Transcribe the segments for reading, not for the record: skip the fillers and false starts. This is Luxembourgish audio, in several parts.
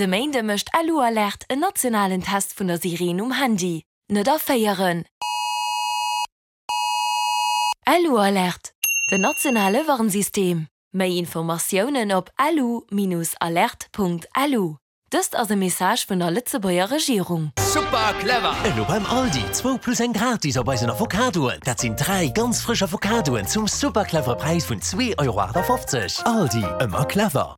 De Méinde mécht LU-Alert en nationalen Test vun der Sireen um Handy. Net erféieren! LU-Alert, den nationale Warnsystem. Méi Informatiounen op lu-alert.lu. Dëst ass e Message vun der Lëtzebuerger Regierung. Super clever! Elo beim Aldi, zwou plus eng gratis op eisen Avocadoen. Dat sinn 3 ganz frësch Avocadoen zum super clevere Präis vun 2,58 Euro. Aldi, ëmmer clever!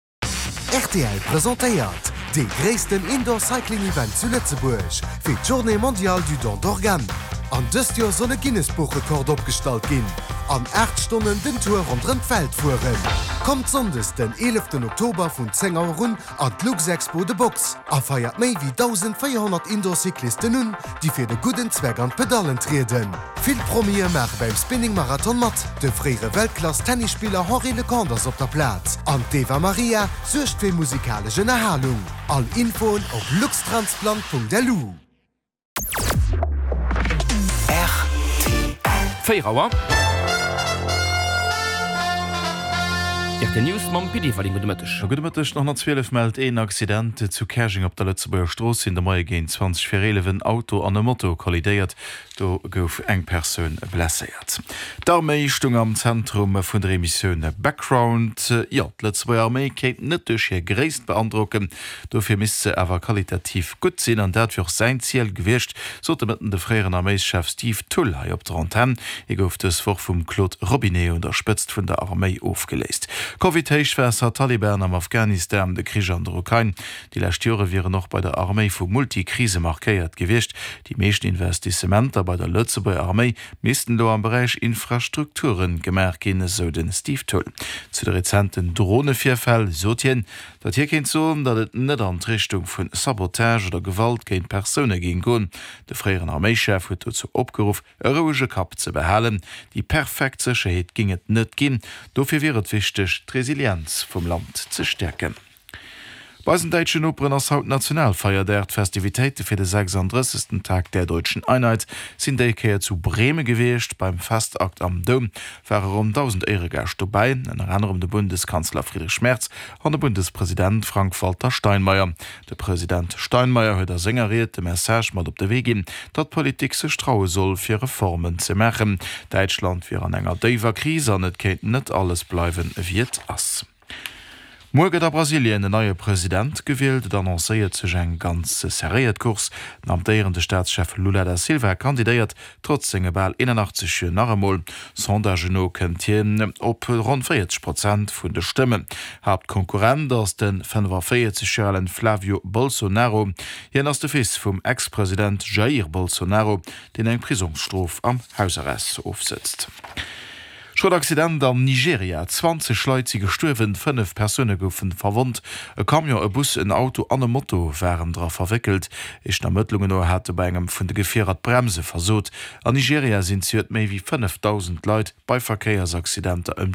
Rtl presentéiert dee gréissten Indoor Cycling Event zu Lëtzebuerg fir d'Journée mondiale du don d'organes. An dëst Joer soll e Guinness-Buch-Rekord opgestallt ginn, an 8 Stonnen den Tour ronderëm d'Welt fueren. Kommt Sonndes den 11 Oktober vun 10 Auer un an d'Luxexpo The Box a feiert méi wéi 1.400 Indoor-Cyclisten un, déi fir de gudden Zweck an d'Pedallen trieden. Vill Promie maache beim Spinning Marathon mat, de fréiere Weltklass-Tennisspiller Henri Leconte ass op der Plaz an d'Eva Marija suergt fir musikalesch Ënnerhalung. All Infoen op luxtransplant.lu. 4 Auer. Rtl News mam Pit Everling. Gudde Mëtteg. Gudde Mëtteg. Nach 112 mellt een Accident zu Käerjeng op der Lëtzebuerger Strooss. Sinn de Moie géint 20 vir 11 en Auto an e Moto kollidéiert. Do gouf eng Persoun blesséiert. D'Arméi stung am Zentrum vun der Emissioun Background. Jo, d'Lëtzebuerger Arméi kéint net duerch hir Gréisst beandrocken, dofir misst se awer qualitativ gutt sinn. An dat wier och säin Ziel gewiescht, sot de Mëtten de fréieren Arméischef Steve Thull hei op der Antenn. Hie gouf dës Woch vum Claude Robinet un der Spëtzt vun der Arméi ofgeléist. Covid, Héichwaasser, Taliban am Afghanistan, de Krich an der Ukrain, Déi lescht Jore wieren och bei der Arméi vu Multikrise markéiert gewiescht. Déi meeschten Investissementer bei der Lëtzebuerger Arméi missten elo am Beräich Infrastrukture gemaach ginn, esou de Steve Thull. Zu de rezenten Dronevirfäll sot hien, datt hie kéint soen, datt et net an d'Richtung vu Sabotage oder Gewalt géint Persoune géing goen. De fréieren Arméischef huet dozou opgeruff, e rouege Kapp ze behalen. Déi perfekt Sécherheet géing et net ginn, dofir wier et wichteg, d'Resilienz vum Land ze stäerken. Bei eisen däitschen Noperen ass haut Nationalfeierdag. D'Festivitéite fir de 36. Tag der Deutschen Einheit sinn déi Kéier zu Bremen gewiescht. Beim Festakt am Doum ware ronn 1.000 Éieregäscht dobäi, ënner anerem de Bundeskanzler Friedrich Merz an de Bundespresident Frank-Walter Steinmeier. De President Steinmeier huet a senger Ried de Message mat op de Wee ginn, datt d'Politik sech traue soll, fir Reformen ze maachen. Däitschland wier an enger déiwer Kris an et kéint net alles bleiwen, wéi et ass. Muer gëtt a Brasilien en neie President gewielt. Et annoncéiert sech eng ganz serréiert Course. Den amtéierende Staatschef Lula da Silva kandidéiert trotz senge bal 81 Joer nach emol. Sondagen no kënnt hien op ronn 40 Prozent vun de Stëmmen. Haaptkonkurrent ass de 45 Joer alen Flavio Bolsonaro. Hien ass de Fils vum Ex-President Jair Bolsonaro, deen eng Prisongsstrof am Hausarrest ofsëtzt. Schrot Accident an Nigeria, 20 Leit si gestuerwen, 5 Persoune goufe verwonnt. E Camion, e Bus, en Auto an e Moto waren dra verwéckelt. Éischten Ermëttlungen no hate bei engem vun de Gefierer d'Bremse versot. An Nigeria sinn zejoert méi wéi 5.000 Leit bei Verkéiersaccidenter ëm.